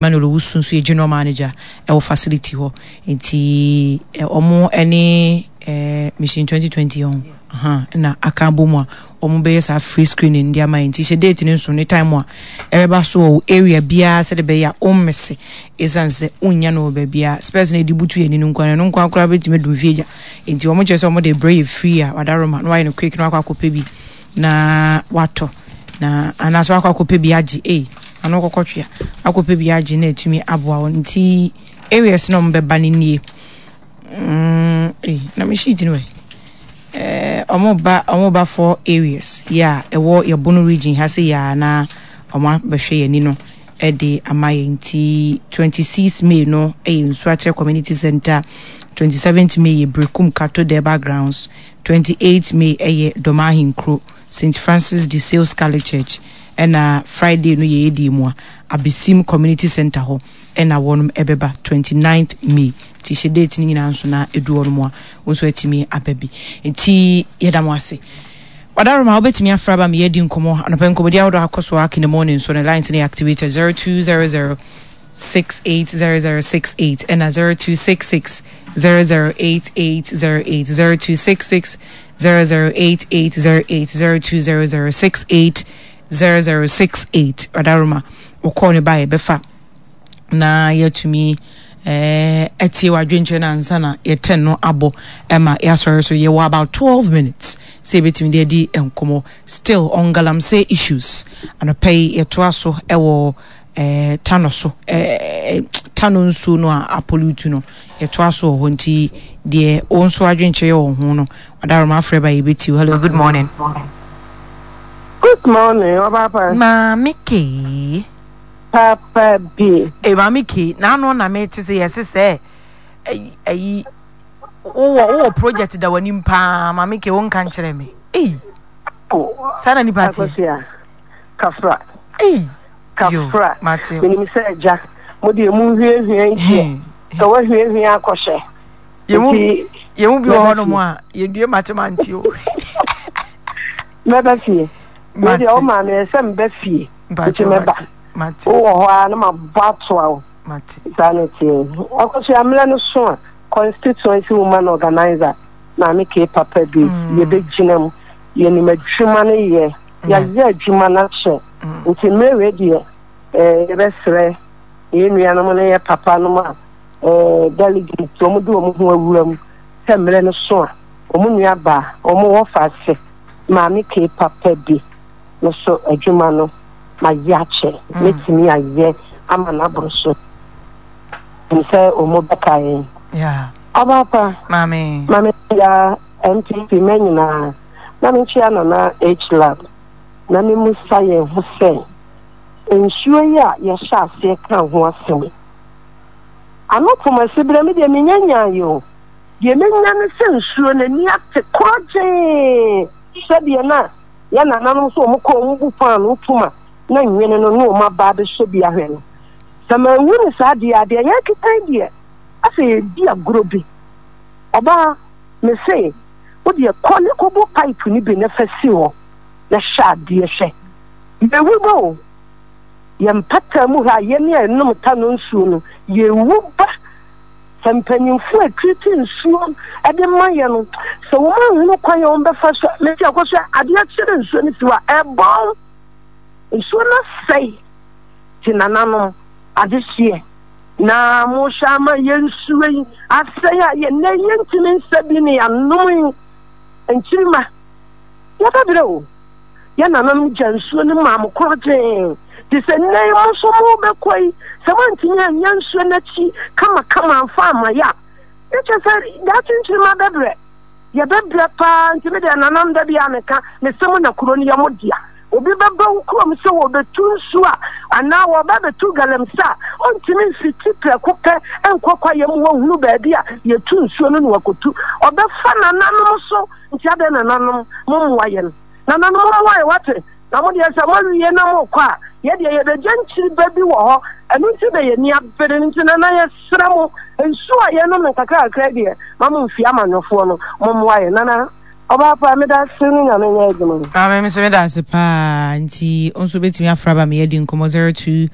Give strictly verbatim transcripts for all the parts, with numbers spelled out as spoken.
Emmanuel Owusu nso yɛ general manager ɛwɔ facility hɔ. Nti ɔmo ɛne ɛɛ Mission twenty twenty ho na aka abɔ mu a ɔmo bɛyɛ saa free screening de ama yɛn. Nti hyɛ date ne nso ne time a ɛbɛba so wɔ area biara sɛde bɛyɛ a ɔmmese, ɛsiane sɛ wonnya no wɔ baabiara. Specs no ɛde butu yɛn ani no nkwa no nkwa koraa bɛtumi adum fie gya. Nti ɔmo kyerɛ sɛ ɔmo de brɛ yɛ free a, wadaroma na wayɛ no quick na wakɔ akɔpɛ bi na watɔ na anaasɛ wakɔ akɔpɛ bi agye ei ano kɔkɔ twea akɔpɛ bi agye na atumi aboa wɔn. Nti areas na ɔmo bɛba no nie. mm, ei, na me sheet no wɛ. eh, ɔmo ba ɔmo ba four areas yɛ a ɛwɔ yɛbono region ha sɛ yɛ a na ɔmo abɛhwɛ yɛn ani no ɛde ama yɛn. Nti twenty-six May no ɛyɛ Nsuakyerɛ Community Center, twenty-seventh May yɛ Brekum Kato Deba Grounds, twenty-eight May ɛyɛ Dɔmahinkuro Saint Francis de Sales Catholic Church, ɛna Friday no yɛ edi mu a Abesim Community Center hɔ ɛna wɔnom ɛbɛba twenty-ninth May. Nti hyɛ date no nyinaa nso na edu hɔ nom a wɔn nso atumi aba bi. Nti yɛda mo ase. Wadaroma, wobɛtumi afra ba me yɛdi nkɔmmɔ anɔpɛ. Nkɔmmɔdi ahodoɔ akɔ so ak in the morning so ne lines no yɛ activated zero two zero zero six eight zero zero six eight ɛna zero two six six zero zero eight eight zero eight, zero two six six zero zero eight eight zero eight, zero two zero zero six eight zero zero six eight. Wadaroma, wɔkɔɔ ne ba yɛbɛfa na yɛatumi ɛɛ ɛtie wadwenkyerɛ no ansa na yɛtɛn no abɔ ɛma yɛasɔre so. Yɛwɔ about twelve minutes sɛ yɛbɛtumi de adi nkɔmmɔ still on galamsey issues. Anɔpɛ yi yɛtoa so ɛwɔ ɛɛ tano so, ɛɛ Tano nsuo no a apollute no, yɛtoa so wɔ hɔ. Nti deɛ wɔn nso adwenkyerɛ yɛ wɔ ho no, wadaroma afrɛ ba yɛbɛtie. Hello, good morning. Good morning, Ọbapa. Maame Kee. Papa bi. Ee, Maame Kee, n'ano na mete sɛ yɛse sɛ ɛyi ɛyi wowɔ wowɔ project da w'anim paa. Maame Kee, wonka nkyerɛ me. Ei, saa na nipa te. Akosua. Kafra. Ei yo. Kafra. Mate. Menim sɛ agya, mo deɛ mu hwiehwie yi deɛ, sɛ woahwiehwie akɔhyɛ. Yɛmu Nti, yɛmu bi wɔ mɛba hɔnom fie. a yɛdue matemante o. Mɛba fie. Me deɛ, wo Mate. maame ɛsɛ mba fie. Nti Mpakyɛ. mɛba. Mate, mate. Wowɔ hɔ a na mabɔ atoa wo. Mate. Saa ne teɛ. Akosua, mmerɛ no so a constituency woman organizer Maame K Papa bi Mm. yɛbɛgyina mu. Yɛnim adwuma no yɛ. Yeah. Yɛayɛ adwuma no akyɛ. Mm. Nti mmerɛ wei deɛ eh, yɛbɛsrɛ yɛn nuanom ne yɛ papa nom a eh, delegate wɔn de wɔn ho awura mu sɛ mmerɛ no so a wɔn nua baa wɔn wɔ fa ase Maame K Papa bi no so adwuma no ma yɛ akyɛ. Mm. Mɛtumi ayɛ ama n'aboro so nim sɛ wɔn bɛka yɛn. Yeah. Ɔbaapa. Maame. Maame ya N P P mɛ nyinaa na menkyia Nana H Lab na memusa yɛn ho sɛ nsuo yi a yɛhyɛ aseɛ ka ho asɛm yi, ano pomasi berɛ me deɛ menya nyaeɛ o. Deɛ menya ne sɛ nsuo n'ani ate korɔgyee sɛdeɛ na yɛ nananom so ɔmo kɔ ɔmo bu paano poma na nwene no ne ɔmo aba abɛsɔ bi ahwɛ no. Sɛ manhu ne saa deɛ a, deɛ yɛkeka yi deɛ asɛ yɛdi agorɔ bi. Ɔbaa me se wodeɛ kɔ ne kɔbɔ pipe no bi na fa si hɔ na hyɛ adeɛ hwɛ yɛwu ba o. Yɛn mpata mu ha, yɛne a ɛnom ta no nsuo no yɛwu ba. Sɛ mpanyimfo a treat nsuo de ma yɛ no, sɛ wɔn ahunu kwan a wɔn bɛfa so mesi akɔ so adeɛ kyerɛ nsuo no si hɔ a ɛbɔn nsuo no asɛe. Te nananom adehyeɛ na mohwɛ ama yɛn nsuo yi asɛe a yɛnɛ yɛntumi nsa bi ne yɛanom yi nkyirima yɛbɛbrɛ o. Yɛ nananom gya nsuo no maa mo korɔgyee te sɛ nnɛ yi mo nso mobɛkɔ yi, sɛ moantumi anya nsuo no akyi kamakama amfa ama yɛ a, ɛkyɛ sɛ daakye nkyirima bɛbrɛ, yɛbɛbrɛ paa. Nti me deɛ, nanam da bi a meka mesɛ mo na kuro no yɛ mo dea. Obi bɛba wo kurom sɛ wɔbɛtu nsuo a anaa wɔba bɛtu galamsey a, ɔntumi mfiti prɛko pɛ nkɔ kwayɛ mu wɔhunu baabi a yɛtu nsuo no na wakɔtu. Ɔbɛfa nananom so. Nti adɛn, nananom mommoa yɛn, nananom mommoa yɛn, wate? Na mo deɛ sɛ moawie na mokɔ a, yɛdeɛ yɛbɛgya nkyiri ba bi wɔ hɔ. Ɛno nti na yɛni abere no. Nti nana, yɛsrɛ mo, nsuo a yɛnom no kakrakra deɛ ma mo mfie amanyɔfoɔ no mommoa yɛn. Nana ɔbaa pa, meda ase ne Nyame nyɛ adwuma no. Maame, me nso meda ase paa. Nti wo nso bɛtumi afra ba me yɛdi nkɔmmɔ zero two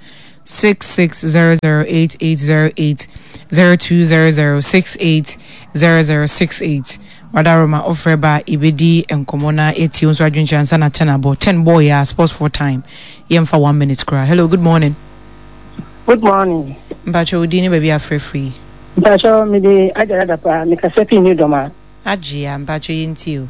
six six zero zero eight eight zero eight zero two zero zero six eight zero zero six eight. Wadaroma ofrɛ ba a yɛbɛdi nkɔmmɔ na yɛtie wo nso adwenkyerɛ ansa na ten abɔ. Ten bɔɔ yɛ a sports for time. Yɛmfa one minute koraa. Hello, good morning. Good morning. Mpakyɛ wo din ne baabi afrɛ firi. Mpakyɛ mede Agyara Dapa mekasa firi New Dɔma. Agyea mpakyɛ yɛntie o.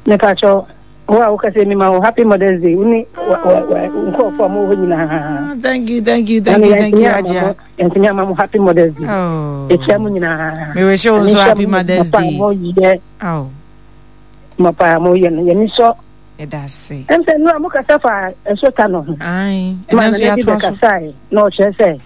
Mepakyɛ wo a wokasa mi ma wo happy mother's day wo ne nkurɔfoɔ a mowɔ hɔ nyinaa. Thank you, thank you, thank you, thank you, Agyea. Yɛntumi ama mo happy mother's day. Yɛkyia mo nyinaa. Merehyɛ wo nso happy mother's day. Oh. Mapa a moyɛ no yɛni sɔ. Yɛda ase. Ɛm sɛ nnura mo kasa fa nsuo ta no ho. Ae, ɛnɛ nso yɛatoa so. Bɛkasae na ɔkyerɛ sɛ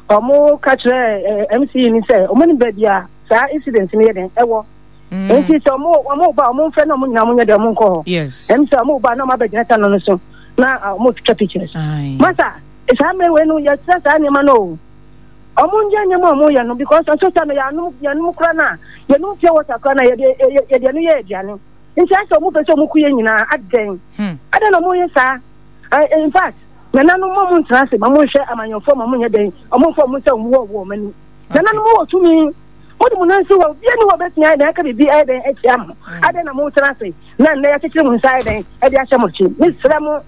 ɔmo ka kyerɛ M C ni sɛ ɔmo ne baabi a saa incident no yɛ den ɛwɔ. Mm. Nti sɛ ɔmo ɔmo ba, ɔmo mfrɛ na ɔmo nyinaa ɔmo nyɛ dɛ ɔmo nkɔ hɔ. Yes. Ɛm sɛ ɔmo ba na ɔmo abɛgyina ta no no so na ɔmo twitwa pictures. Aye. Masa, saa mmerɛ wei no yɛsrɛ saa nneɛma no o. Ɔmo nyɛ nneɛma a ɔmo yɛ no because nso ta no yɛanom yɛnom kora no a yɛnom pure water kora no a yɛde yɛde ɛno yɛ aduane. Nti asɛ ɔmo pɛ sɛ ɔmo ku yɛ nyinaa adɛn? Hmm. Adɛn na ɔmo yɛ saa? In fact, nananom mo mo ntena ase ma mo nhwɛ amanyɔfoɔ ma mo nyɛ dɛn ɔmo nfa ɔmo nsa ɔmo wɔ wɔ ɔmo ani. Nananom wɔ tumi mo de mo nan si hɔ, obiara ni hɔ bɛtumi ayɛ dɛn aka biribi ayɛ dɛn atia mo. Adɛn na mo tena ase na nnɛ yɛakyekyere mo nsa ayɛ dɛn ɛde ahyɛ mo akyi? Mesrɛ mo,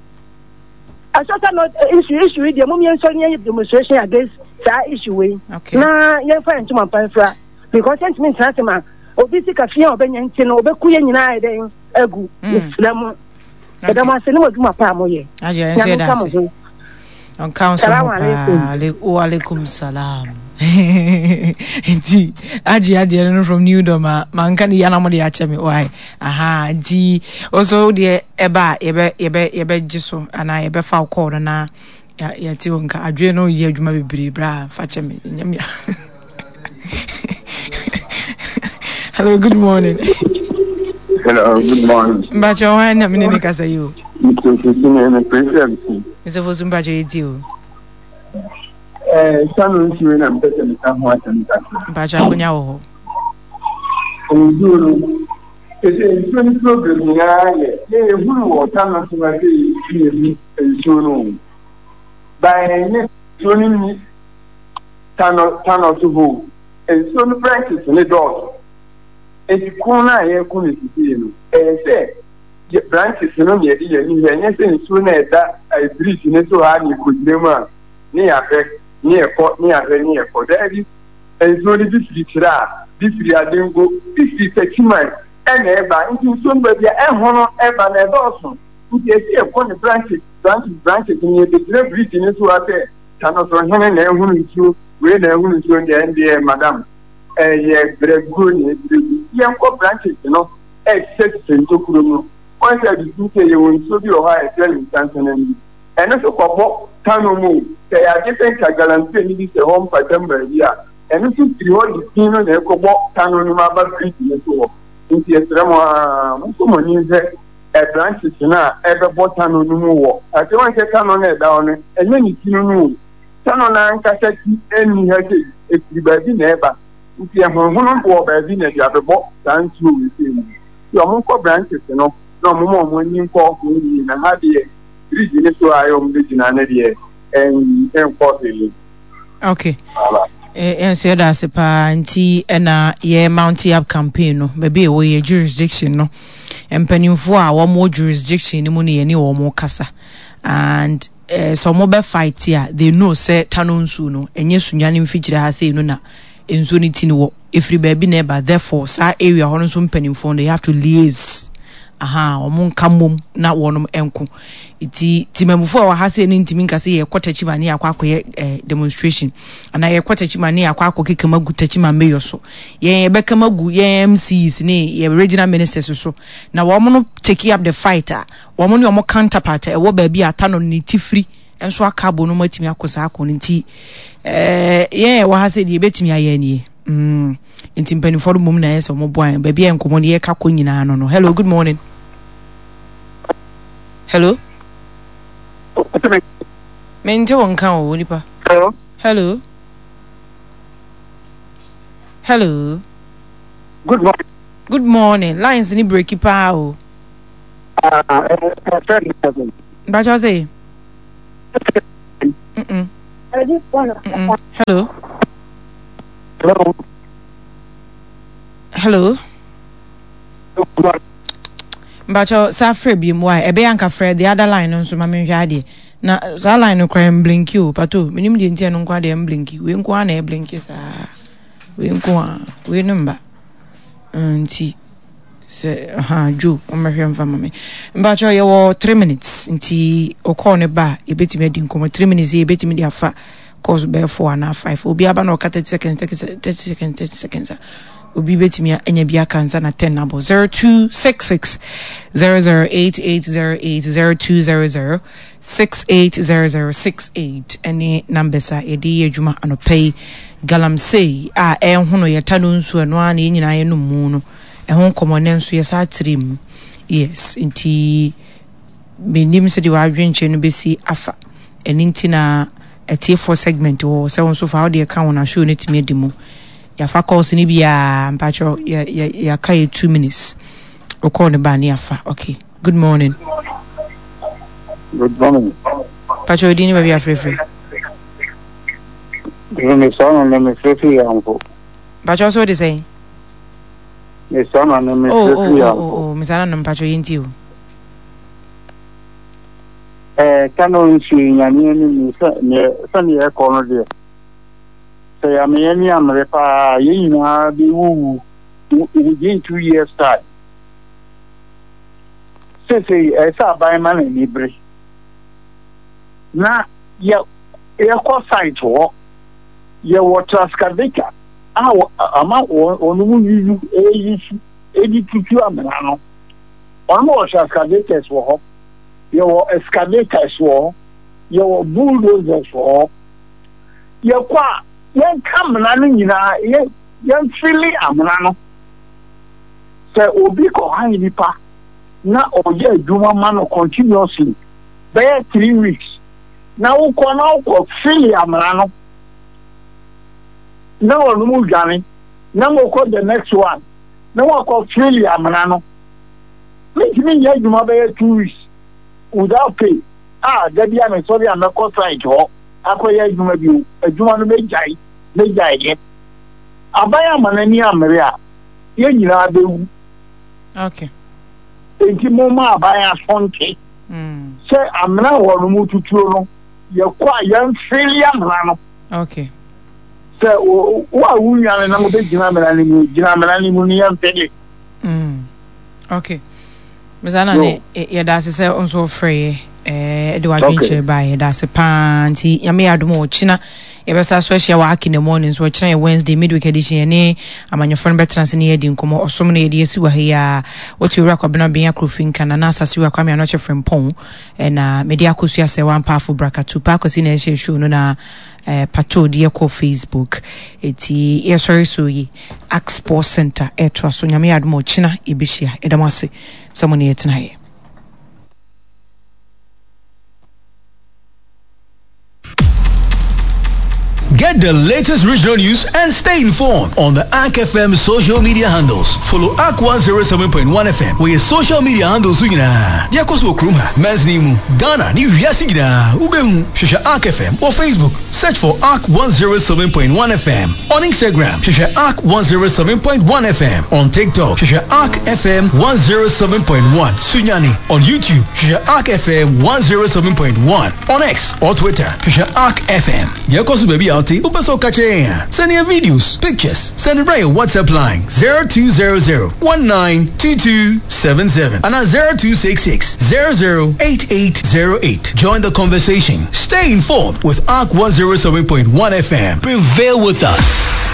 asɔsa no issue issue yi deɛ mo mmiɛnsa ni yɛ demonstration against saa issue wei Okay. na yɛmfa yɛn ntoma mpa mfira because yɛntumi ntena ase ma obi sika fia a ɔbɛnya nti no ɔbɛku yɛn nyinaa ayɛ dɛn agu. Mesrɛ mo, yɛda mo ase ne mo adwuma pa a moyɛ. Agyea nso Nyame yɛda nka mo ase. ho. Ɔnka nso ho Salaam alaikum. Paa. Ale- wa alaikum salam. Nti agye adeɛ no from New Dom a manka ne yia na mode akyɛ me why aha. Nti ɔso deɛ ɛba a yɛbɛ yɛbɛ yɛbɛgye so anaa yɛbɛfa wo call no na yɛ- yɛte wo nka. Adwene no yɛ adwuma bebree bra fa kyɛ me nyɛ me. Hello, good morning. Hello, good morning. Mbakyɛ hwan na mene ne kasa yi o? Mister Fosu, me president. Mister Fosu, mbakyɛ yɛtie o. Eh, sanu nsuo na mpɛ sɛ meka ho asɛm kakra. Mbakyɛ akonya wɔ hɔ. Nsuo no, sɛ nsuo no problem nyinaa yɛ, yɛ yɛhunu wɔ Tano so ha sɛ yɛhu nsuo no o. Ba ɛnyɛ nsuo no nni Tano Tano so hɔ o. Nsuo no branches ne dɔɔso. Nti ko no a yɛreko no sisii no, ɛyɛ sɛ yɛ branches no na yɛde yɛn ani hwɛ, ɛnyɛ sɛ nsuo no a ɛda eh, bridge ne so ha ne yɛkɔgyina mu a ne yɛahwɛ ne yɛkɔ ne yɛahwɛ ne yɛkɔ. Daabi, nsuo no bi firi Kyerɛ a, bi firi Adengo, bi firi Takyiman ɛna ɛba. Nti nsuo no baabi a ɛhono ɛba no ɛdɔɔso. Nti ɛsɛ yɛkɔ ne branches branches branches no, yɛbɛgyina bridge ne so ha sɛ Tano so hene na ɛhunu nsuo wei na ɛhunu nsuo deɛ, ɛndeɛ madam, ɛyɛ brɛguo na ɛbrɛgu. Yɛnkɔ branches no ɛhyehyɛ ntokuro mu. Wɔn sɛ adusu sɛ yɛwɔ nsuo bi wɔ hɔ a yɛfrɛ no nsansanan bi, ɛno nso kɔbɔ Tano mu o. Sɛ yɛagye sɛ nka galamsey no bi sɛ hɔ mpatam baabi a, ɛno nso firi hɔ de fi no na ɛkɔbɔ Tano no mu aba bridge no so hɔ. Nti yɛsrɛ mo a mokɔ mo ani nhwɛ ɛ branches no a ɛbɛbɔ Tano no mu wɔ ase. Wɔn sɛ Tano no ɛda hɔ no, ɛnyɛ ne ti no no o. Tano no ankasa ti ɛnni ha sɛ ɛfiri baabi na ɛba. Nti ɛhonhono wɔ baabi na ɛde abɛbɔ saa nsuo wei sɛ mu. Nti ɔmo nkɔ branches no na ɔmo ma ɔmo ani nkɔ ho yie, na ha deɛ bridge ne so a ɛyɛ ɔmo bɛgyina ne deɛ ɛn ɛnkɔ hwee. Okay, yɛn nso yɛda ase paa. Nti ɛna yɛ mount up campaign no, baabi a ɛwɔ yɛ jurisdiction no, mpanimfoɔ a wɔn wɔ jurisdiction no mu no, yɛne wɔn kasa and eh, sɛ wɔn bɛ fight a, they know sɛ Tano nsuo no ɛnyɛ Sunyani mfikyire ha sei no na nsuo no ti no wɔ, efiri baabi na ɛba. Therefore saa area hɔ no nso mpanimfoɔ no, they have to liaise aha, wɔn nka mmom na wɔn nko. Nti timamufoɔ a wɔ ha sei no ntumi nka sɛ yɛkɔ Takyima ne yɛakɔ akɔyɛ eh, demonstration anaa yɛkɔ Takyima ne yɛakɔ akɔ kekam agu Takyima mayor so. Yɛn yɛbɛkam agu yɛn M C Es ne yɛ regional ministers so na wɔn no take up the fight a wɔn ne wɔn counterpart a ɛwɔ baabi a Tano ne ti firi nso aka abɔ no mu atumi akɔ saa akɔ no. Nti ɛɛ yɛn a ɛwɔ ha sɛ deɛ yɛbɛtumi ayɛ nie mm nti mpanimfoɔ no mmom na ɛyɛ sɛ wɔn boa yɛn baabi a nkɔmɔ no yɛka kɔ nyinaa no no Hello, good morning. Hello, mente wo nka o nipa. Hello. Hello, hello. Good morning. Good morning. Lines ni breaki paa o. Uh, uh, uh, Mpakyɛw sɛ mm. Mm-mm. Hello. Hello. Hello. Mpakyɛw saa frɛ bi mu a ɛbɛyɛ anka frɛ the other line no nso ma menhwɛ adeɛ na saa line no koraa mblinki o pato menim deɛ nti ɛno nko adeɛ mblinki wei nko ara na ɛblinki saa wei nko ara wei no mba nti sɛ ha dwo wɔmmɛhwɛ mfa ma me. Mpakyɛw yɛwɔ three minutes nti ɔkɔɔ ne ba a yɛbɛtumi adi nkɔmmɔ three minutes yi yɛbɛtumi de afa course bɛyɛ four anaa five obi aba na ɔka thirty seconds thirty seconds thirty seconds a obi bɛtumi anya bi aka nsa na ten abɔ zero two six six zero zero eight eight zero eight zero two zero zero six eight zero zero six eight ɛne numbers a yɛde yɛ adwuma anɔpa yi. Galamsey a ɛhono yɛta no nsuo ɛno ara na yɛn nyinaa yɛnom mu no ɛho nkɔmmɔ ne nso yɛsa atiri mu. Yes, nti menim sɛdeɛ w'adwenkyerɛ no bɛsi afa ɛno nti na atiefoɔ segment wɔ sɛ wo nso fa wode ɛka wo na show no tumi adi mu. Yɛafa calls no biaa mpakyɛw yɛaka yɛ two minutes wokɔɔ no baa ne yɛafa. Okay, good morning. Good morning. Mpakyɛw odin ne baabi afrɛfrɛ. Mesana ne mefrɛfiri yɛnfo. Mpakyɛw sɛ wode sɛn? Mesana ne mefrɛfiri yɛnfo. Oh, oh, mesana no mpakyɛw yɛnti o. Eh, kano nsuo nyame anim sɛ sɛneɛ ɛkɔ no deɛ sɛ yɛameyɛ ne amere paa yɛn nyinaa bɛwuwu within two years time. Sesei ɛsɛ aban ma n'ani bere na yɛ yɛkɔ site hɔ yɛwɔ transcavator a ama wɔn mu yuyu ɛyi su ɛdi tutu amena no wɔn wɔ transcavators wɔ hɔ, yɛwɔ excavators wɔ hɔ, yɛwɔ bulldozers wɔ hɔ. Yɛkɔ a yɛnka amena no nyinaa yɛ yɛmfili amena no sɛ obi kɔ han nipa na ɔyɛ adwuma ma no continuously bɛyɛ three weeks na wokɔ na wokɔ fili amena no na wɔn mu dwane na mokɔ the next one na wakɔ fili amena no mentumi nyɛ adwuma bɛyɛ two weeks without pay a dabi a mesɔre a mɛkɔ site hɔ akɔyɛ adwuma bio adwuma no mɛgyae mɛgyae yɛ aban ama n'ani ammere a yɛn nyinaa bɛwu. Okay. Enti momma aban asonte sɛ amena wɔ no mu tutuo no yɛkɔ a yɛmfili amena no. Okay. Sɛ wo a wonwane na mobɛgyina amena no mu gyina amena no mu no yɛmfili. Mm. Okay. Mr. Nane, yɛda ase sɛ nso wofrɛ yɛ de wadwenkyerɛ baa yɛda ase paa nti nyame yɛ adom ɔkyena yɛbɛsa so ahyia wɔ Aki in the morning so ɔkyena yɛ Wednesday midweek edition yɛne amanyɔfoɔ no bɛtena ase ne yɛadi nkɔmmɔ ɔsom no yɛde asi wɔ ha yi a wote owura Kwabena Ben Akrofi nka na asase wura Kwame Anɔkye Frempɔn ɛna mede akɔsua sɛ wampaafo brakatu pa akɔsi na ɛhyɛ show no na eh, pato de yɛkɔ Facebook eti yɛsɔre so yi Ask Sports Center ɛtoa so nyame yɛ adom ɔkyena yɛbɛhyia ɛda mo ase sɛ mo ne yɛtena yɛ. Get the latest regional news and stay informed on the A R C F M social media handles. Follow A R C one zero seven point one F M with your social media handles. Nyinaa. Deɛ kɔ so wɔ kurom ha, Mɛnsini mu, Ghana ne wiase nyinaa, wobɛhu. Hwehwɛ A R C F M wɔ Facebook. Search for A R C one zero seven point one F M. On Instagram, hwehwɛ A R C one zero seven point one F M. On TikTok, hwehwɛ A R C F M one zero seven point one. Sunyani. On YouTube, hwehwɛ A R C F M one zero seven point one. On X or Twitter, hwehwɛ A R C F M. Deɛ kɔ so baabi a wote, wopɛ sɛ woka kyerɛ yɛn a, send your videos, pictures, send it your WhatsApp line zero two zero zero one nine two two seven seven and zero two six six zero zero eight eight zero eight. Join the conversation. Stay informed with A R C one zero seven point one F M. Prevail with us.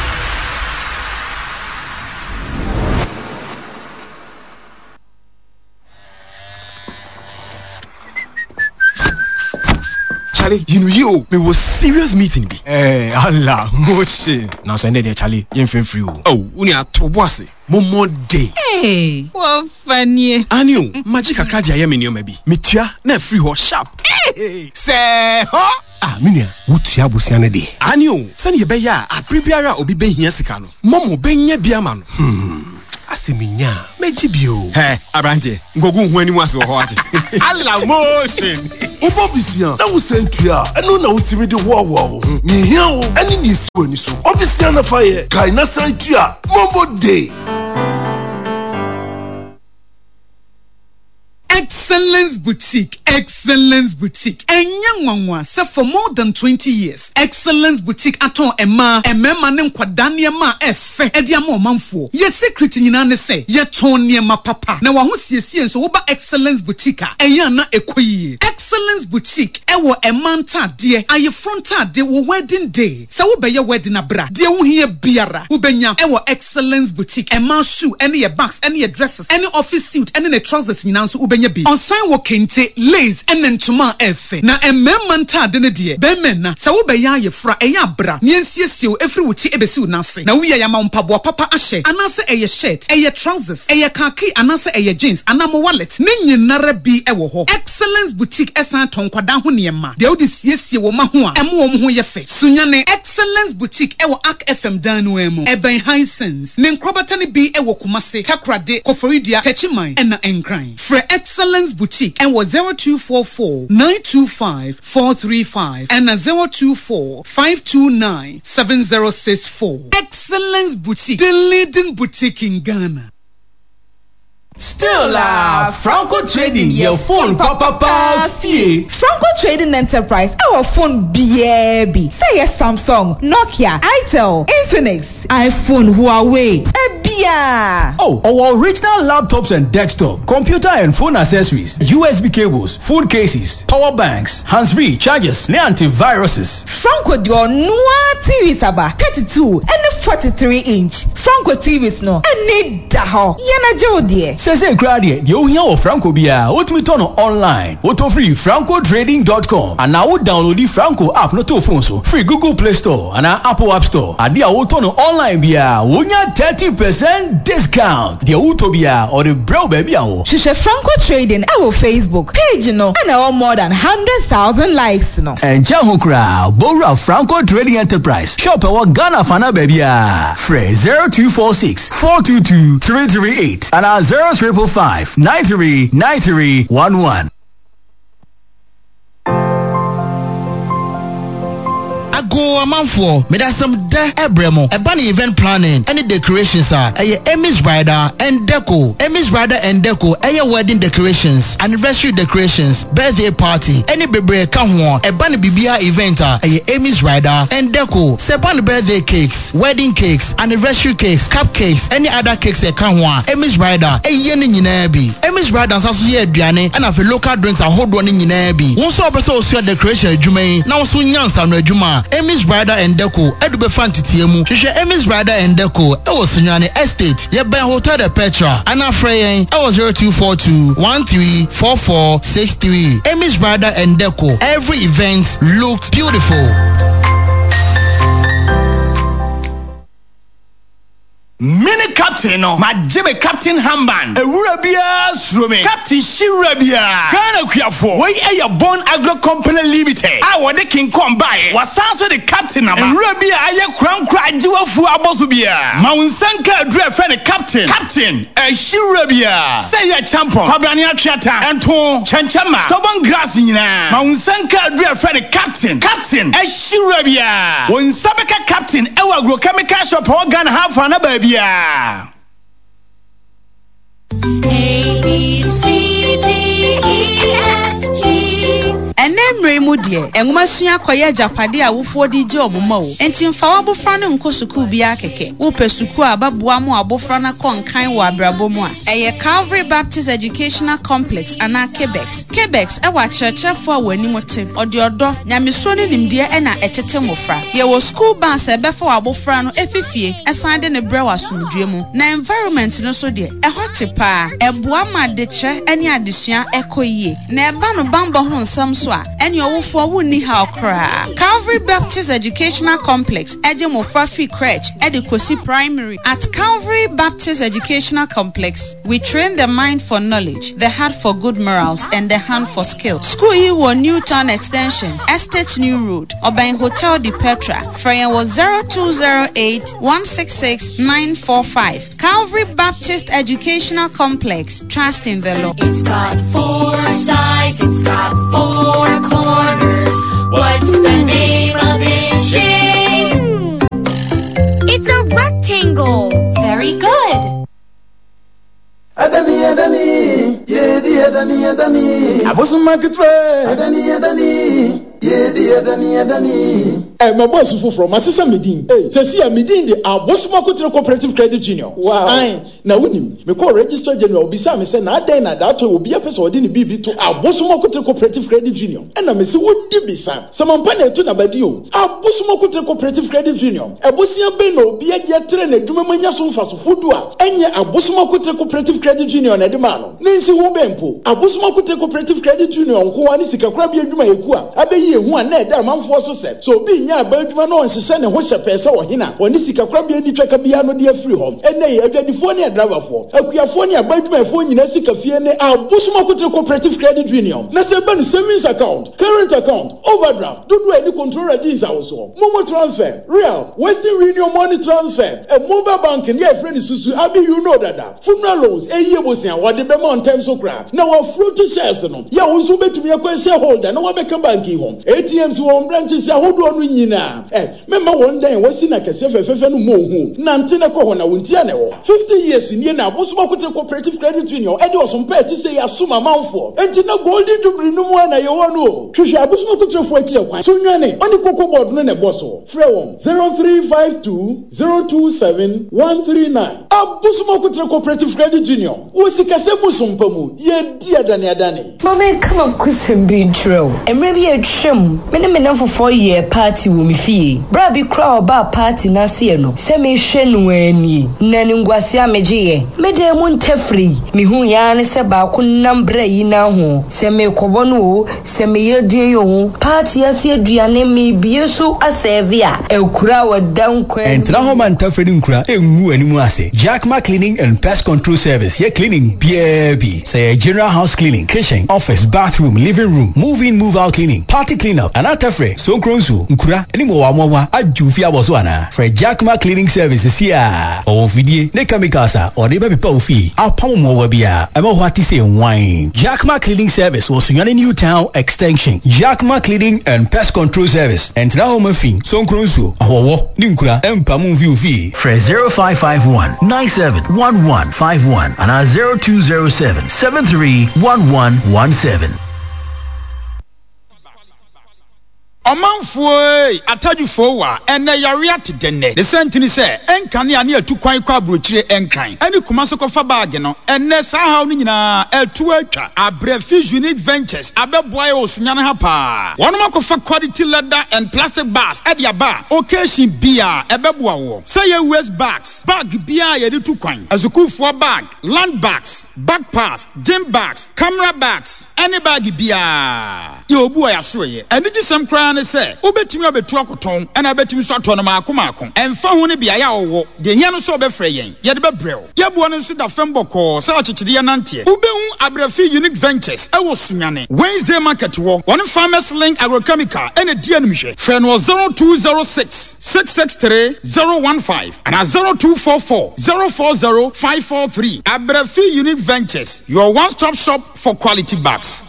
Charlie, you know you me was serious meeting bi. Eh, Allah, moche. Na so ende de Charlie, yen free free o. Oh, uni atobo ase. Mo day. Hey, what funny. Anio, magic akra dia ye me niyoma bi. Metua na free ho sharp. Hey, say ho. Ah, minia, wutua busia ne de. Anio, sani ye be ya abribiara obi be hia sika no. Momo be nya bi ama no. Hmm. Asɛ menya a, mɛgye bio. Hɛ, aberanteɛ, nkogu wo ho anim ase wɔ hɔ ate. Ala motion! Wobɔ bisia na wosan tua a, ɛno na wotumi de hoahoa wo ho. Nea ehia wo ne nea esi w'ani so. Bɔ bisia na fa yɛ. Kae na san tua. Momo Day! Excellence Boutique, Excellence Boutique. Ɛnyɛ nwanwa sɛ for more than twenty years, Excellence Boutique atɔn mmaa, mmarima ne nkwadaa nneɛma a ɛfɛ de ama ɔmanfoɔ. Yɛ secret nyinaa ne sɛ, yɛtɔn nneɛma papa. Na w'ahosiesie nso, woba Excellence Boutique a, ɛyɛ a na ɛkɔ yie. Excellence Boutique wɔ mmaa ntaadeɛ, ayeforɔ ntaadeɛ, wo wedding day, sɛ wobɛyɛ wedding a bra, deɛ wohia biara wobɛnya wɔ Excellence Boutique. Mmaa shoe ne yɛ bags ne yɛ dresses ne office suit ne ne trousers nyinaa nso wobɛnya bi. Ɔsan wɔ kente, lace ne ntoma a ɛyɛ fɛ. Na mmarima ntaade no deɛ, bɛrima nna. Sɛ wobɛyɛ ayeforɔ a, ɛyɛ a bra na yɛnsiesie wo ɛfiri wo ti bɛsi wo nan ase. Na wowie a, yɛama wo mpaboa papa ahyɛ anaasɛ ɛyɛ shirt, ɛyɛ trousers, ɛyɛ khaki anaasɛ ɛyɛ jeans anaa mo wallet, ne nyinara bi wɔ hɔ. Excellence Boutique san tɔn nkwadaa ho nneɛma, deɛ wode siesie wo mma ho a ɛma wɔn ho yɛ fɛ. Sunyani, Excellence Boutique wɔ Ark F M dan no ara mu, ɛbɛn Hisense. Ne nkorabata no bi wɔ Kumasi, Takoradi, Koforidua, Techiman, ɛna Nkran. Frɛ Excellence Boutique wɔ zero two four four nine two five four three five ɛna zero two four five two nine seven zero six four. Excellence Boutique, the leading boutique in Ghana. Still ah, Franco Trading yɛ phone papapa fie. Franco Trading Enterprise ɛwɔ phone biara bi, sɛ ɛyɛ Samsung, Nokia, Itel, Infinix, iPhone, Huawei, ebia. Oh, ɔwɔ original laptops and desktop, computer and phone accessories, U S B cables, phone cases, power banks, hands-free chargers, ne antiviruses. Franco de ɔnoa T Vs aba, thirty two ɛne forty three inch. Franco T Vs no ɛne da hɔ, yɛn agye wo deɛ. Sɛsɛ koraa deɛ, deɛ ohia wɔ Franco biara, wotumi tɔ no online. Wotɔ firi franco trading dot com anaa wo download Franco app no to phone so firi Google Play Store anaa Apple App Store. Adeɛ a wotɔ no online biara, wonya thirty percent discount. Deɛ wotɔ biara, ɔde brɛ wo baabi a wɔ. Hwehwɛ Franco Trading ɛwɔ Facebook page no ɛna ɛwɔ more than hundred thousand likes no. Ɛnkyɛn ho koraa, bowura Franco Trading Enterprise shop ɛwɔ Ghana fana baabiara. Frɛ zero two four six four two two three three eight anaa zero five five five nine three nine three one one. Ago amanfoɔ, mede asɛm dɛ ɛbrɛ mo. Ɛba ne event planning ɛne decorations a, ɛyɛ Amy's Bridal and Deco. Amy's Bridal and Deco ɛyɛ wedding decorations, anniversary decorations, birthday party ɛne bebree ka ho. Ɛba ne biribiara event a, ɛyɛ Amy's Bridal and Deco. Sɛ ɛba ne birthday cakes, wedding cakes, anniversary cakes, cupcakes ɛne other cakes ɛka ho a, Amy's Bridal ɛyɛ ne nyinaa bi. Amy's Bridal nsa so yɛ aduane ɛna afei local drinks ahodoɔ ne nyinaa bi. Wo nso a wopɛ sɛ osua decoration adwuma yi na wo nso nya nsano adwuma a, Amy's Bridal and Deco ɛde bɛfa nteteɛ mu. Hwehwɛ Amy's Bridal and Deco ɛwɔ Sunyani Estate, yɛbɛn Hotel de Petra, anaa frɛ yɛn ɛwɔ zero two four two one three four four six three. Amy's Bridal and Deco, every event looks beautiful. Mene captain no, magye me captain armband. Ewura biara suro me, captain hyewura biara. Ghana kuafoɔ, wei ɛyɛ Bon Agro Company Limited a wɔde King Kong baeɛ. Wasan so de captain aba. Ewura bi a ayɛ korankora agye wafuo abɔ so biara, ma wo nsa nka aduru a ɛfrɛ no captain. Captain ɛhyewura biara, sɛ yɛ champon, kwabrane, atweata, ɛnto, kyɛnkyɛnma, stubborn grass nyinaa, ma wo nsa nka aduru a ɛfrɛ no captain. Captain ɛhyewura biara, wo nsa bɛka captain ɛwɔ agrochemical shop a ɛwɔ Ghana ha afa na baabiara. A B C D E F G. Ɛnɛ mmerɛ mu deɛ, nwoma sua akɔyɛ agyapade a awofoɔ de gye ɔmo ma o. Enti mfa w'abofra no nkɔ sukuu biara kɛkɛ. Wopɛ sukuu a bɛboa mo abofra no akɔ nkan wɔ abrabɔ mu a, ɛyɛ Calvary Baptist Educational Complex anaa Cabex. Cabex ɛwɔ akyerɛkyerɛfoɔ a wɔn anim te, ɔde ɔdɔ, nyamesuro ne nimdeɛ ɛna ɛtete mmɔfra. Yɛwɔ school bus a ɛbɛfa w'abofra no efifie ɛsan de ne brɛ wɔ asomdwe mu. Na environment no so deɛ, ɛhɔ te paa. Ɛboa ma adekyerɛ ne adesua ɛkɔ yie. Na ɛba no bambɔ ho nsɛm so. nso a, ɛne ɔwofoɔ wonni haw koraa. Calvary Baptist Educational Complex ɛgye mmɔfra fi crèche ɛde kɔsi primary. At Calvary Baptist Educational Complex, we train the mind for knowledge, the heart for good morals, and the hand for skill. School yi wɔ New Town Extension, Estate New Road, Ɔbɛn Hotel de Petra. Frɛ yɛn wɔ zero two zero eight one six six nine four five. Calvary Baptist Educational Complex. Trust in the Lord. It's got four sides, it's got four corners. What's the name of this shape? It's a rectangle. Very good. Adani adani, yedi adani adani. Abosuma ketewa. Adani adani, yedi adani adani. Eh, my boss foforɔ masesa me din. Hey, sɛsi a me din de Abosoma Kotere Cooperative Credit Union. Wow. Ae, na wonim, mekɔɔ Registrar General obisaa me sɛ na adɛn na daatɔ obi apɛ sɛ ɔde ne biribi to Abosoma Kotere Cooperative Credit Union. Ɛna mese wodi bisa. Sɛ mampa na ɛto n'abadi o. Abosoma Kotere Cooperative Credit Union. Ɛbosia bɛn na obi agye atrɛ n'adwuma mu anya so mfaso hodo a ɛnyɛ Abosoma Kotere Cooperative Credit Union na ɛde maa no. Ne nsi ho bɛn mpo. Abosoma Kotere Cooperative Credit Union nko ara ne sikakorabea adwumayɛkuo a abɛyi ehu a na ɛda amanfoɔ so sɛ sɛ obi nya aba adwuma na ɔnhyehyɛ ne ho hyɛ pɛɛ sɛ ɔhene a ɔne sikakorabea ni twaka biara no de afiri hɔ. Ɛnnɛ yi, adwadifoɔ ne adraivafoɔ, akuafoɔ ne aba adwumayɛfoɔ nyinaa sika fie ne Abosoma Kotere Cooperative Credit Union. Na sɛ ɛba no savings account, current account, overdraft, dodoɔ a ɛne controller gye nsawosoɔ, momo transfer, real, Western Union money transfer, ɛ mobile banking yɛ ɛfrɛ no susu abi you know dada, funeral loans, ɛyie bosia wɔde bɛma ntɛm so koraa na wɔafuro to shares no yɛ wo nso wobɛtumi akɔ shareholder na wɔabɛka bank yi ho. A T Ms wɔ wɔn branches ahodoɔ no nyinaa. Ɛ mɛma wɔn dan a wɔasi na kɛseɛ fɛfɛɛfɛ no mu ohu nante na kɔ hɔ na wɔn ti a na ɛwɔ fifty years nie na Abosoma Kotere Cooperative Credit Union ɛde ɔsompa ɛte sɛ yɛ asom amanfoɔ. Enti na Golden Jubilee no mu a na yɛwɔ no o. Hwehwɛ Abosoma Koterefoɔ akyirɛ kwan so nwane ɔne Cocoa Board no na ɛbɔ so. Frɛ wɔn zero three five two zero two seven one three nine. Abosoma Kotere Cooperative Credit Union wɔ sikasɛm mu sompa mu yɛdi adane adane. Ma menka makosɛm bi nkyerɛ wo. Mmerɛ bi atwam, me ne me namfofoɔ yɛɛ party wɔ me fie. Berɛ a bi koraa a ɔbaa party no aseɛ no, sɛ mehwɛ no anie na ne nguase a megyeeɛ mede mu ntɛfiri yi mehu yɛa ne sɛ baako nam berɛ yi na ho sɛ mekɔbɔ no o, sɛ meyɛ din o, party ase aduane mebie so asɛɛve a akura a wɔda nkwan. Ɛntena hɔ ma ntafrɛ no nkura ɛngu anim ase. Jackma Cleaning and Pest Control Service yɛ cleaning biara bi, sɛ yɛ general house cleaning, kitchen, office, bathroom, living room, move in, move out cleaning, party clean up, anaa tɛfrɛ sonkro nsuo nkura ne mmoawamoawa adwo fie abɔ so anaa, frɛ Jackma Cleaning Service si a ɔwɔ fidie ne chemicals a ɔde bɛpepa wo fie apam mmoawa bi a ɛma hɔ ate sɛ nwan. Jackma Cleaning Service wɔ Sunyane New Town Extension. Jackma Cleaning and Pest Control Service, ɛntena hɔ ma fi sonkro nsuo ahɔwɔ ne nkura ɛmpam mfi wo fie. Frɛ zero five five one nine seven one one five one anaa zero two zero seven seven three one one one seven. Ɔmanfoɔ yi atadwofoɔ wa ɛnɛ yare ate dɛnɛ ne sɛntini sɛ ɛnkanea ne atu kwan kɔ aburokyire ɛnkran ɛne kuma so kɔfa baage no. Ɛnɛ saa haw no nyinaa ɛtu atwa. Abrɛfi Unique Ventures abɛboa yɛ wɔ Sunyane ha paa. Wɔnom akɔfa quality leather and plastic bags ɛde aba a occasion bia ɛbɛboa wɔ sɛ yɛ waste bags, bag biara yɛde tu kwan, asukuufoɔ bag, land bags, backpacks, gym bags, camera bags, ɛne bag biara yɛ obu a yɛaso yɛ. Anigyesɛm koraa ne sɛ wobɛtumi abɛtu akɔtɔn ɛna wobɛtumi nso atɔ no maako maako, ɛmfa ho ne beaeɛ a wɔwɔ. Deɛ hia no sɛ wobɛfrɛ yɛn, yɛde bɛbrɛ wo. Yɛboɔ no nso da fam bɔkɔɔ sɛ akyekyedeɛ nanteɛ. Wobɛhu Abrɛfi Unique Ventures ɛwɔ Sunyane Wednesday Market wɔ wɔne Farmers Link Agrochemical ɛna di animhwɛ. Frɛ no wɔ zero two zero six six six three zero one five anaa zero two four four zero four zero five four three. Abrɛfi Unique Ventures, your one-stop shop for quality bags.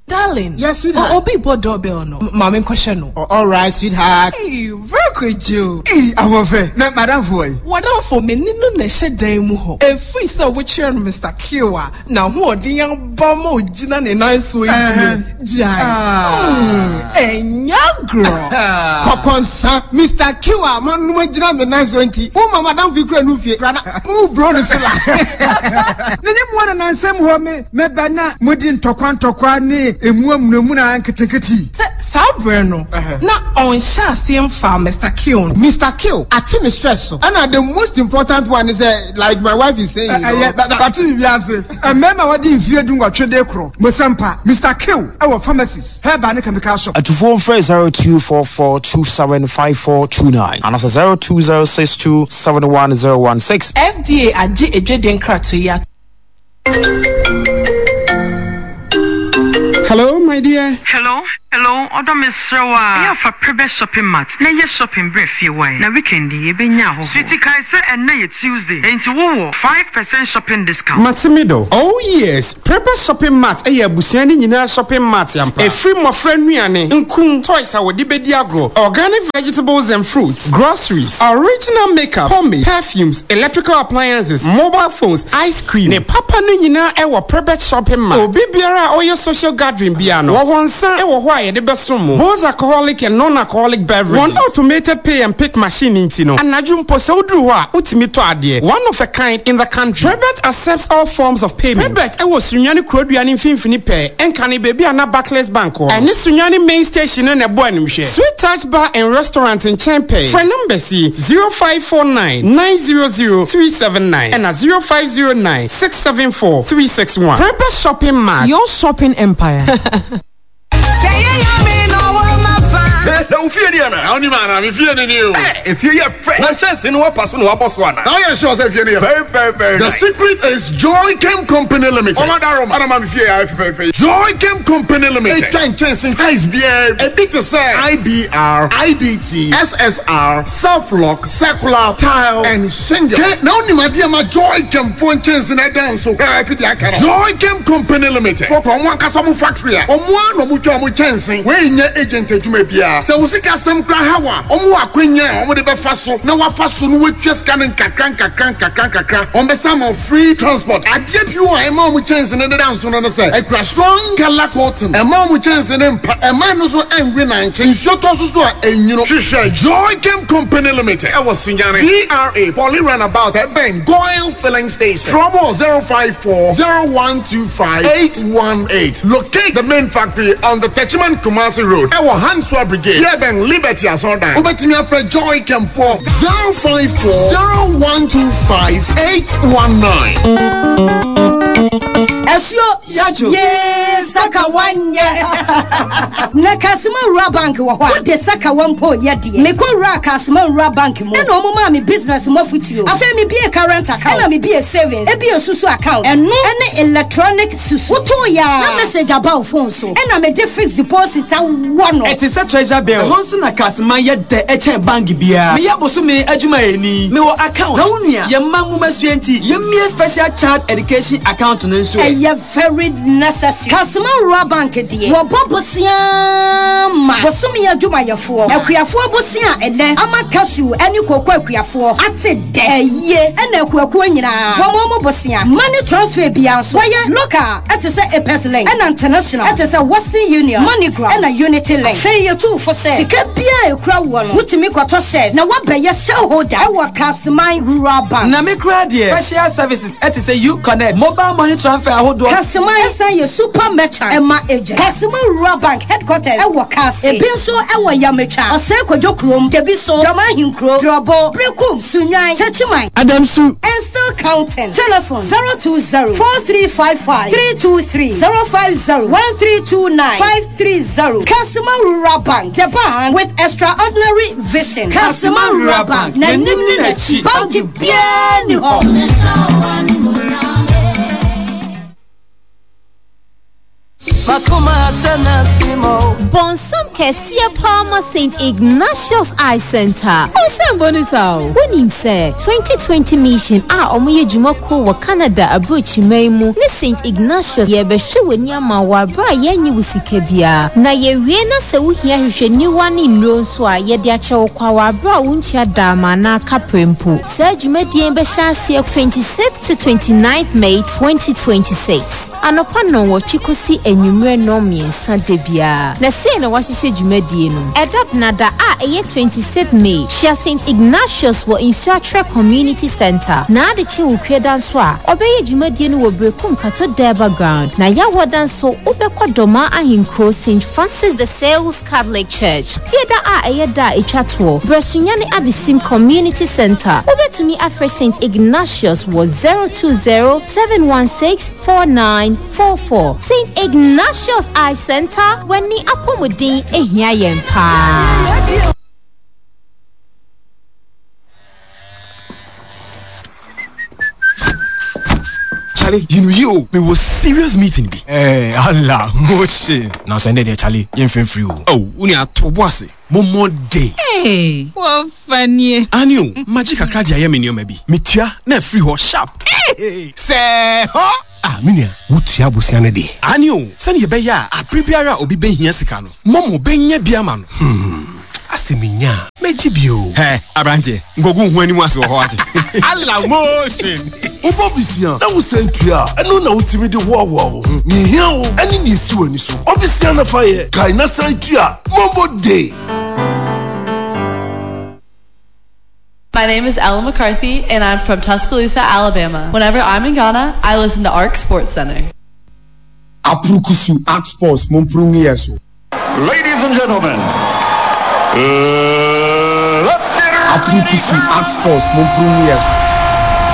Darling. Yes, sweetheart. Oh, obi bɔ doorbell no. Maame nkɔhwɛ no. Oh, all right, sweetheart. Hey, very quick, Joe. Hey, ahoɔfɛ. Na madam fo yi. Wadamfo me ni no na ɛhyɛ dan mu hɔ. Efiri sɛ wokyerɛ no Mister Q a, na ahoɔden aba ma ogyina ne nan so yi deɛ. Gyae. Ɛnyɛ agorɔ. Kɔkɔnsa, Mister Q a manom agyina me nan so nti, wo ma madam fi kura no fie. Brada, wo bro ne fila. Na nye mmoa na nansɛm hɔ me mɛba na modi ntɔkwa ntɔkwa ne emu amunamuna nketenkete. Sɛ saa berɛ no, na ɔnhyɛ aseɛ mfa Mister Mister Q. Mister Q, ate me stress so. And the most important one is uh, like my wife is saying. You know, but you be mmarima wɔde mfie du nwɔtwe de korɔ mosampa Mister Q ɛwɔ pharmacies, herbal ne chemical shop. Atufoɔ mfrɛ zero two four four two seven five four two nine anaasɛ zero two zero six two seven one zero one six. F D A agye edwede nkratoɔ yi ato. Hello, my dear. Hello, hello, ɔdɔ, mesrɛ wo a ɛyɛ afa Prebɛ Shopping Mart na ɛyɛ shopping berɛ fie wae na weekend yi yɛbɛnya ahɔhoɔ. Sweetie, kae sɛ ɛnnɛ yɛ Tuesday, enti wowɔ five percent shopping discount. Matemido. Oh yes, Prepare Shopping Mart ɛyɛ abusua ne nyinaa shopping mart ampa. Ɛfiri mmɔfra nnuane, nkum, toys a wɔde bɛdi agorɔ, organic vegetables and fruits, groceries, original makeup, pomade, perfumes, electrical appliances, mobile phones, ice cream. Ne papa no nyinaa ɛwɔ Prepare Shopping Mart. Obi biara a ɔyɛ social gathering bia no, wɔwɔ nsa ɛwɔ hɔ a yɛde bɛsom mo. Both alcoholic and non-alcoholic beverages. Wɔn automated pay and pick machine nti no, anadwo mpo sɛ woduru hɔ a, wotumi tɔ adeɛ. One of a kind in the country. Prebet accepts all forms of payment. Prebet ɛwɔ Sunyani kurodua ne mfimfini pɛɛ, ɛnka ne baabi a na Barclays Bank wɔ. Ɛne Sunyani main station no na ɛbɔ animhwɛ. Sweet Touch Bar and Restaurant nkyɛn pɛɛ. Frɛ numbers yi: zero five four nine nine zero zero three seven nine ɛna zero five zero nine six seven four three six one. Prebet Shopping Mart. Your shopping empire. Na wo fie ni ana? Na wonim ana me fie ni ni o. Efie yɛ fɛ. Na nkyɛnse no wapa so na wabɔ so ana? Na woyɛ sure sɛ fie no yɛ very, very, very The nice. secret is Joy Chem Company Limited. Ɔma daroma ana ma me fie yɛ fɛfɛɛfɛ. Joy Chem Company Limited etwa nkyɛnse heights biara, ebi te sɛ I B R, I D T, S S R, self lock, circular, tile and shingle. Ke na wonim adeɛ ma Joy Chem fo nkyɛnse na ɛdan so fɛfɛ de aka no. Joy Chem Company Limited fɔkɔ ɔmo ankasa ɔmo factory a ɔmo a na ɔmo twa ɔmo kyɛnse. Wei nyɛ agent adwuma biara. Sɛ wo sika asɛm kora ha wa, ɔmo wɔ akwanya a ɔmo de bɛfa so na wafa so no watua sika no nkakra nkakra nkakra nkakra. Ɔmo bɛsa ma free transport. Adeɛ bi wɔ a ɛma ɔmo kyɛnse no deda nso no no sɛ ɛkura strong colour coating, ɛma ɔmo kyɛnse no mpa, ɛma no so ɛnwe nankye nsuo tɔ so so a ɛnwino. Hwehwɛ Joy Chem Company Limited ɛwɔ Sunyani V R A Poly Runabout, ɛbɛn Goil Filling Station. Promo zero five four zero one two five eight one eight. Locate the main factory on the Techiman Kumasi Road, ɛwɔ Hansua Brigade, yɛbɛn Liberty Asɔrdan. Wobɛtumi afrɛ Joy Chem for zero five four zero one two five eight one nine. Ɛsuo Yadwo. Yee, saka wanyɛ na Kasima Rural Bank wɔ hɔ a wode saka wa mpo yɛ deɛ. Mekɔ wura Kasima Rural Bank mu ɛna ɔmo maa me business mu afotuo. Afei mebie current account, ɛna mebie savings, ebie susu account, ɛno ɛne electronic susu. Wotoo yaa na message aba wo phone so, ɛna mede fixed deposit awɔ no. Ɛte sɛ treasure bill. Ɛhɔ nso na Kasima yɛ dɛ ɛkyɛn bank biara. Meyɛ bosome adwumayɛni, mewɔ account. Na wo nua yɛmma nwomasua nti yɛmmie special child education account no nso ɛ. Ɛyɛ very necessary. Kasima Rural Bank deɛ, wɔbɔ bosea ma bosome adwumayɛfoɔ, akuafoɔ bosea a ɛnɛ ama cashew ne koko akuafoɔ ate dɛ ɛyie, ɛna akuakuo nyinaa wɔn mo bosea. Money transfer bia nso wɔyɛ local ɛte sɛ Apex Link, ɛna international ɛte sɛ Western Union, MoneyGram ɛna Unity Link. Afei yɛtu fo sɛ sika biara ekura wɔ no, wotumi kɔtɔ shares na wabɛyɛ shareholder ɛwɔ Kasiman Rural Bank. Na me koraa deɛ, special services ɛte sɛ U Connect, mobile money transfer ahodoɔ. Kasiman ɛsan yɛ super merchant ɛma agent. Kasiman Rural Bank headquarters ɛwɔ Kaase, ebi nso ɛwɔ Yametwa, Ɔsɛn Kodwo kurom, Debi so, Dɔm Ahenkuro, Drɔbo, Brekum, Sunwan, Techiman. Adamsu. And still counting. Telephone zero two zero four three five five three two three, zero five zero one three two nine five three zero. Kasima Rural Bank, the bank with extraordinary vision. Kasima Rural Bank, na nim ne n'akyi bank biara ni hɔ. Bɔnsam kɛseɛ paa ma Saint Ignatius Eye Center. Ɔnsɛm bonus a wonim sɛ twenty twenty Mission a ɔmoyɛ dwumakuo wɔ Canada aburokyiman mu ne Saint Ignatius yɛbɛhwɛ w'ani ama wɔ aberɛ a yɛnnye wo sika biara, na yɛwie na sɛ wohia hwehwɛniwa ne nnuro nso a, yɛde akyɛ wo kwa wɔ aberɛ a wontua daama anaa kaprɛ mpo. Saa dwumadie bɛhyɛ aseɛ twenty-six to twenty-nine May twenty twenty-six. Anɔpa nnɔnwɔtwe kɔsi anwummerɛ nnɔnmiɛnsa da biara. Na sei na wɔahyehyɛ dwumadie no. Ɛda Benada a ɛyɛ twenty-six May, hyia Saint Ignatius wɔ Nsuatrɛ Community Centre. Na adekye Wukuada nso a, ɔbɛyɛ dwumadie no wɔ Berekum Kato Durbar Ground. Na Yawoada nso, wobɛkɔ Dɔmaa Ahenkuro Saint Francis de Sales Catholic Church. Fiada a ɛyɛ da a ɛtwa toɔ, Brɛ Sunyani Abesim Community Centre. Wobɛtumi afrɛ Saint Ignatius wɔ zero two zero, seven one six, four nine four four. Saint Ignatius Eye Centre, w'ani apɔmuden ehia yɛn paa. Charlie, you know you me was serious meeting bi. Eh, Allah, motion. Na so ende de Charlie, yen free free o. Oh, uni ato bo ase. Mo mo day. Hey, wo fanie. Ani o, magic kakra de aye me nneoma bi. Metua na free ho sharp. Hey, say ho. Ah, minia, wotua bosia ne de. Ani o, sɛ ne yɛbɛyɛ a abere biara a obi bɛhia sika no, momo bɛnya bi ama no. Hmm. Ase minya, megye bio. Hɛ, aberanteɛ, nkogu ho anim ase wɔ hɔ ate. Allah motion. Wobɔ bisia na wosan tua a, ɛno na wotumi de hoahoa wo ho. Nea ehia wo ɛne nea esi w'ani so. Ɔbisia na fa yɛ, kae na san tua. Momo day. My name is Ella McCarthy, and I'm from Tuscaloosa, Alabama. Whenever I'm in Ghana, I listen to ARC Sports Center. Apurukusu Arc Sports Mumprungiyeso. Ladies and gentlemen, uh, let's get ready. Apurukusu Arc Sports Mumprungiyeso.